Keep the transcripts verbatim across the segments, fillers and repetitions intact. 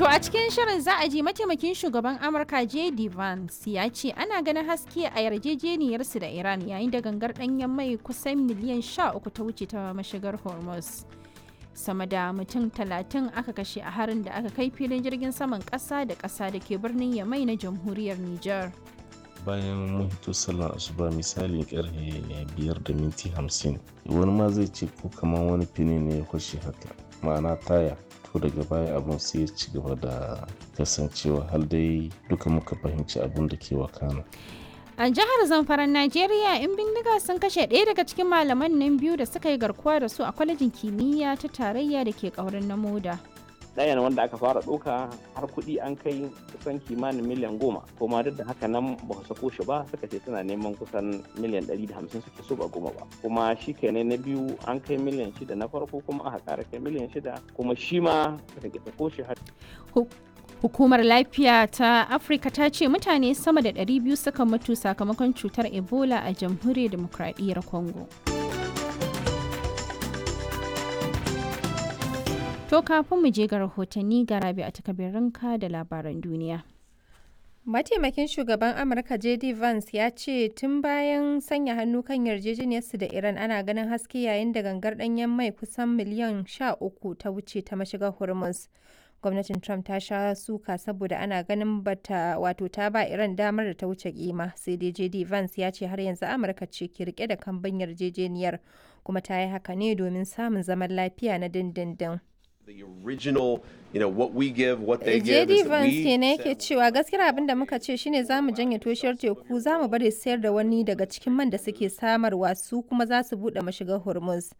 To a cikin shirin za a ji mataimakin shugaban Amurka J D Vance ya ce ana ganin haske a yarjejeniyarsu da Iran yayin da gangar ɗanyen mai kusan miliyan sha uku ta wuce ta mashigar Hormuz. Sama da mutum talatin aka kashe a harin da aka kai filin jirgin saman ƙasa da ƙasa da ke birnin Yamai na jamhuriyar Nijar. Bayan mun hito sallar asuba, misalin karfe biyar da minti hamsin, wani ma zai ce ko kamar wani fini ne ya kwashe haka, ma'ana taya. To, daga baya abun sai ya ci gaba da kasancewa har dai duka muka fahimci abun da ke wakana. A jihar Zamfaran Najeriya, 'yan bindiga sun kashe ɗaya daga cikin malaman nan biyu da suka yi garkuwa da su a kwalejin kimiyya ta tarayya da ke ƙaurin na Moda. Ɗayan wanda aka fara ɗauka har kuɗi an kai kusan kimanin miliyan goma, kuma duk da haka nan ba su sako shi ba. Suka ce suna neman kusan miliyan ɗari da hamsin suke so, ba goma ba. Kuma shi kenan, na biyu an kai miliyan shida na farko, kuma aka ƙara kai miliyan shida, kuma shi ma suka ƙi sako shi har. Hukumar Lafiya ta Afirka ta ce mutane sama da ɗari biyu suka mutu sakamakon cutar Ebola a Jamhuriyar Demokradiyyar Congo. To, kafin mu je ga rahotanni, ga Rabi a takabirinka da labaran duniya. Mataimakin shugaban Amurka J D Vance ya ce tun bayan sanya hannu kan yarjejeniyarsu da Iran ana ganin haske yayin da gangar ɗanyen mai kusan miliyan sha uku ta wuce ta mashigar Hormuz. Gwamnatin Trump ta sha suka saboda ana ganin bata wato ta ba Iran damar da ta wuce kima, sai dai J D Vance ya ce har yanzu Amurka ce ke rike da kambun yarjejeniyar, kuma ta yi haka ne domin samun zaman lafiya na dindindin. The original, you know, what we give, what they give J D is that Vance we kenan yake cewa gaskiyar abin da muka ce shine za mu janye toshiyar teku, za mu bari sayar da wani daga cikin man da suke samarwa, su kuma za su buɗe mashigar Hormuz.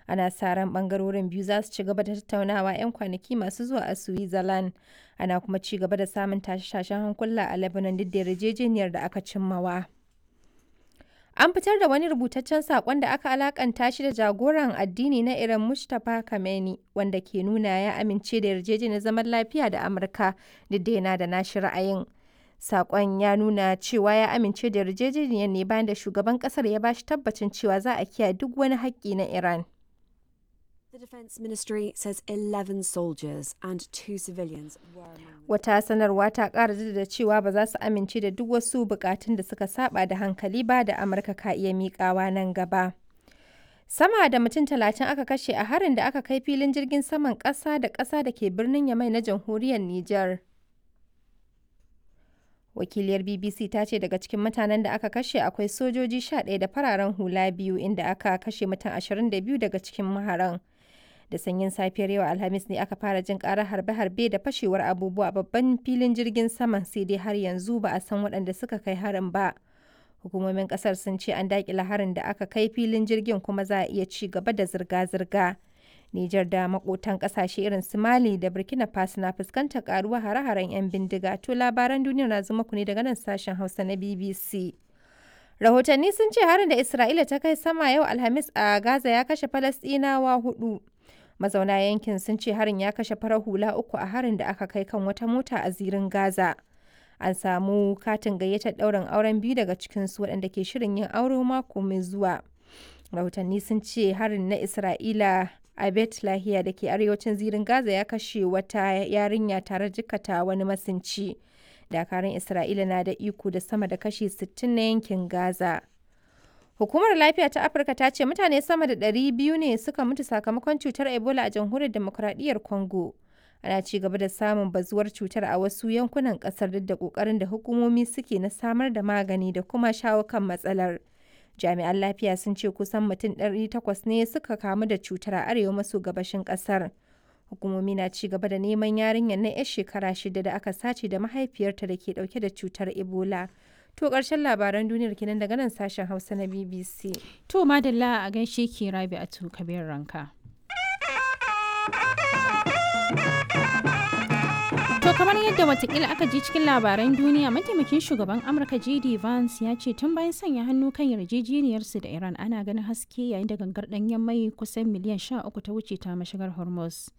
Ana sa ran bangarorin biyu za su ci gaba da tattaunawa 'yan kwanaki masu zuwa a Switzerland. Ana kuma ci gaba da samun tashe-tashen hankula a Lebanon duk da yarjejeniyar da aka cimmawa. An fitar da wani rubutaccen saƙon da aka alakanta shi da jagoran addini na Iran Mujtaba Khamenei, wanda ke nuna ya amince da yarjejeniyar zaman lafiya da Amurka duk da yana da nashi ra'ayin. Saƙon ya nuna cewa ya amince da yarjejeniyar ne bayan da shugaban ƙasar ya bashi tabbacin cewa za a kiyaye duk wani haƙƙi na Iran. The Defence Ministry says eleven soldiers and two civilians were among the Wata sanarwa ta ƙara jaddada cewa ba za su amince da duk wasu buƙatun da suka saba da hankali ba da Amurka ka iya miƙawa nan gaba. Sama da mutum talatin aka kashe a harin da aka kai filin jirgin saman ƙasa da ƙasa da ke birnin Yamai na jamhuriyar Nijar. Wakiliyar B B C ta ce daga cikin mutanen da aka kashe akwai sojoji sha ɗaya da fararen hula biyu, inda aka kashe mutum ashirin da biyu daga cikin maharan. Da sanyin safiyar yau Alhamis ne aka fara jin karar harbe-harbe da fashewar abubuwa a babban filin jirgin saman, sai dai har yanzu ba a san waɗanda suka kai harin ba. Hukumomin kasar sun ce an daƙile harin da aka kai filin jirgin, kuma za a iya ci gaba da zirga-zirga. Nijar da makotan kasashe irin su Mali da Burkina Faso na fuskantar karuwa hare-haren 'yan bindiga. To, labaran duniya na zuma ku ne daga nan sashen Hausa na B B C. Rahotanni sun ce harin da Isra'ila ta kai sama yau Alhamis a Gaza ya kashe Falasɗinawa hudu. Mazauna yankin sun ce harin ya kashe farar hula uku a harin da aka kai kan wata mota a zirin Gaza. An samu katin gayyatar ɗaurin auren biyu daga cikinsu waɗanda ke shirin yin aure mako mai zuwa. Rahotanni sun ce harin na Isra'ila a Bet Lahiya da ke arewacin zirin Gaza ya kashe wata yarinya tare jikkata wani masinci. Dakarun Isra'ila na da iko da sama da kashi sittin na yankin Gaza. Hukumar Lafiya ta Afirka ta ce mutane sama da ɗari biyu ne suka mutu sakamakon cutar Ebola a Jamhuriyar Demokuraɗiyyar Congo. Ana ci gaba da samun bazuwar cutar a wasu yankunan ƙasar duk da ƙoƙarin da hukumomi suke na samar da magani da kuma shawo kan matsalar. Jami'an lafiya sun ce kusan mutum ɗari takwas ne suka kamu da cutar a arewa maso gabashin ƙasar. Hukumomi na ci gaba da neman yarinyar na 'yar shekara shida da aka sace da mahaifiyarta da ke ɗauke da cutar Ebola. To, ƙarshen labaran duniyar kenan daga nan sashen Hausa na B B C. To, madalla, a gaishe ki Rabi a kabir ranka. To, kamar yadda watakila aka ji cikin labaran duniya, mataimakin shugaban Amurka J D Vance ya ce tun bayan sanya hannu kan yarjejeniyarsu da Iran ana ganin haske yayin da gangar ɗanyen mai kusan miliyan sha uku ta wuce ta mashigar Hormuz.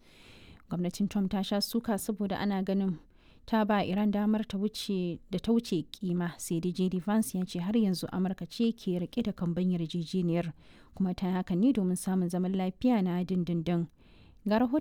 Gwamnatin Trump ta sha suka saboda ana ganin ta ba Iran damar ta wuce da ta wuce kima, sai dai J D Vance ya ce har yanzu Amurka ce ke rike da kamban yarjejeniyar, kuma ta yi hakan ne domin samun zaman lafiya na dindindin. Ga rahoton